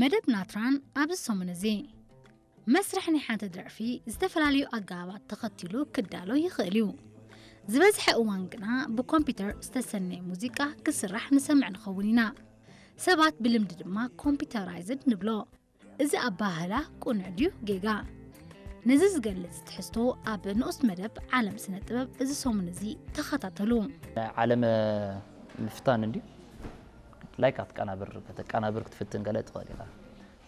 መደብ ናትራን ኣብዚ ሰሙን እዚ መስርሕ ናይ ሓንቲ ደርፊ ዝተፈላለዩ ኣገባባት ተኸቲሉ ክዳሎ ይኽእል እዩ። ዝበዝሐ እዋን ግና ብኮምፒውተር ዝተሰነየ ሙዚቃ ክስራሕ ንሰምዕ ንኸውን ኢና። ሰባት ብልምዲ ድማ ኮምፒውተራይዝድ ንብሎ። እዚ ኣባህላ ቅኑዕ ድዩ ጌጋ? ነዚ ዝገልጽ ትሕዝቶ ኣብ ንኡስ መደብ ዓለም ስነ ጥበብ እዚ ሰሙን እዚ ተኸታተሉ። ዓለመ ምፍታን እንድዩ። ላይክ ኣትቀናብር፣ ከተቀናብር ክትፍትን ገለ ትኽእል ኢኻ።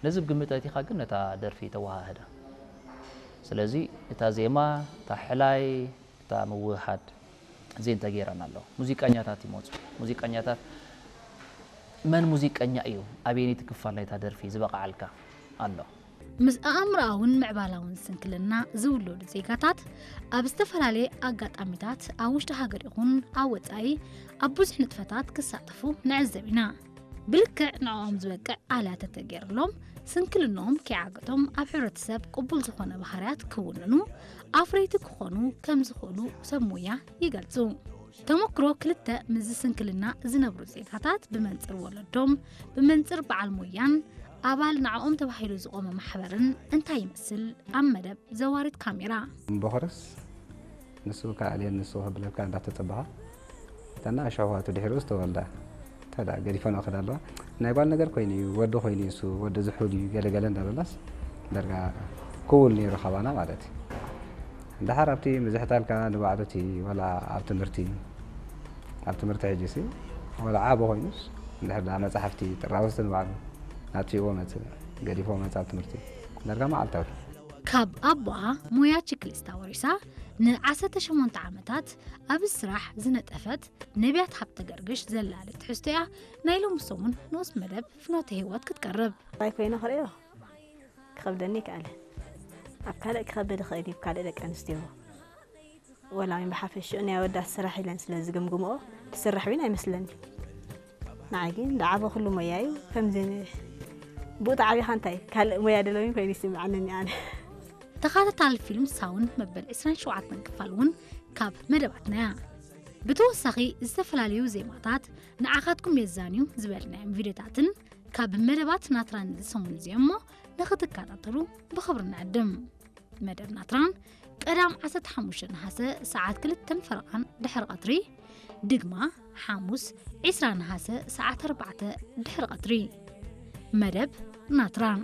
ነዚ ብግምት ኣእቲኻ ግን ነታ ደርፊ ተወሃህዳ። ስለዚ እታ ዜማ፣ እታ ሕላይ፣ እታ ምውህሃድ እዚን ተገይረን ኣለዋ። ሙዚቀኛታት ይመፁ። ሙዚቀኛታት መን ሙዚቀኛ እዩ፣ ኣበየነይቲ ክፋል ናይታ ደርፊ ዝበቕዓልካ ኣሎ። ምስ ኣእምሮኣውን ምዕባላውን ስንክልና ዝውለዱ ዜጋታት ኣብ ዝተፈላለየ ኣጋጣሚታት ኣብ ውሽጢ ሃገር ይኹን ኣብ ወጻኢ ኣብ ብዙሕ ንጥፈታት ክሳተፉ ንዕዘብ ኢና። ብልክዕ ንዕኦም ዝበቅዕ ኣልያ ተተገይርሎም ስንክልንኦም ከይዓገቶም ኣብ ሕብረተሰብ ቅቡል ዝኾነ ባህርያት ክውንኑ ኣፍረይቲ ክኾኑ ከም ዝኽእሉ ሰብ ሞያ ይገልጹ። ተመክሮ ክልተ ምስዚ ስንክልና ዝነብሩ ዜጋታት ብመንጽር ወለዶም፣ ብመንጽር በዓል ሞያን ኣባል ንዕኦም ተባሂሉ ዝቖመ ማሕበርን እንታይ ይመስል? ኣብ መደብ ዘዋሪት ካሜራ። እምበኸርስ ንሱ ክኣልየን ንሱ ክብለካ እንዳተጸበኻ እተና ኣሸዋቱ ድሕሪኡ ዝተወልዳ ተዳ ገዲፈን ክዳ ኣለዋ። ናይ ጓል ነገር ኮይኑ እዩ፣ ወዲ ኮይኑ እዩ፣ እሱ ወዲ ዝሑል እዩ፣ ገለገለ እንዳበላስ ደርጋ ክውል ነይሩ ካባና ማለት እዩ። እንድሓር ኣብቲ ምዝሕታልካ ንባዕሉ እቲ ወላ ኣብ ትምህርቲ፣ ኣብ ትምህርቲ ሕጂ ሲ ወላ ዓቢ ኮይኑስ እንድሕር ዳ መጻሕፍቲ ጥራውስቲ ንባዕሉ ናጽዎ መጽእ፣ ገዲፎ መጽእ ኣብ ትምህርቲ። ደርጋ መዓልታዊ። ካብ ኣቦኣ ሞያ ችክሊስታ ወሪሳ ንዓሰርተ ሸሞንተ ዓመታት ኣብዚ ስራሕ ዝነጠፈት ነቢያት ሃብተ ገርግሽ ዘላለ ትሕዝቶ እያ ናይ ሎሚ ሰሙን ንኡስ መደብ ፍኖተ ህይወት ክትቀርብ። ጥራይ ኮይነ ክርእዮ ክኸብደኒ ይከኣል። ኣብ ካልእ ክኸብድ ይኽእል እዩ፣ ካልእ ደቂ ኣንስትዮ። ወላ እውን ብሓፈሽኡ ናይ ኣወዳት ስራሕ ኢለን ስለ ዝግምግምኦ ትስራሕ እውን ኣይመስለኒ። ንዓይ ግን ዝዓበኹሉ ሞያ እዩ። ከምዚ ብኡ ተዓቢኻ እንታይ ካልእ ሞያ ደለዊን ኮይኑ ይስምዓኒ ኣነ። ተኸታታሊ ፊልም ሳውንድ መበል ዕስራን ሸውዓተን ክፋል እውን ካብ መደባትና እያ። ብተወሳኺ ዝተፈላለዩ ዜማታት ንዓኻትኩም የዛንዩ ዝበልናዮም ቪድዮታትን ካብ መደባት ናትራን ዝሰሙን እዚኦም እሞ ንኽትከታተሉ ብኽብሪ ንዕድም። መደብ ናትራን ቀዳም ዓሰርተ ሓሙሽተ ነሓሰ ሰዓት ክልተን ፈረቓን ድሕሪ ቀትሪ፣ ድግማ ሓሙስ ዕስራ ነሓሰ ሰዓት ኣርባዕተ ድሕሪ ቀትሪ። መደብ ናትራን።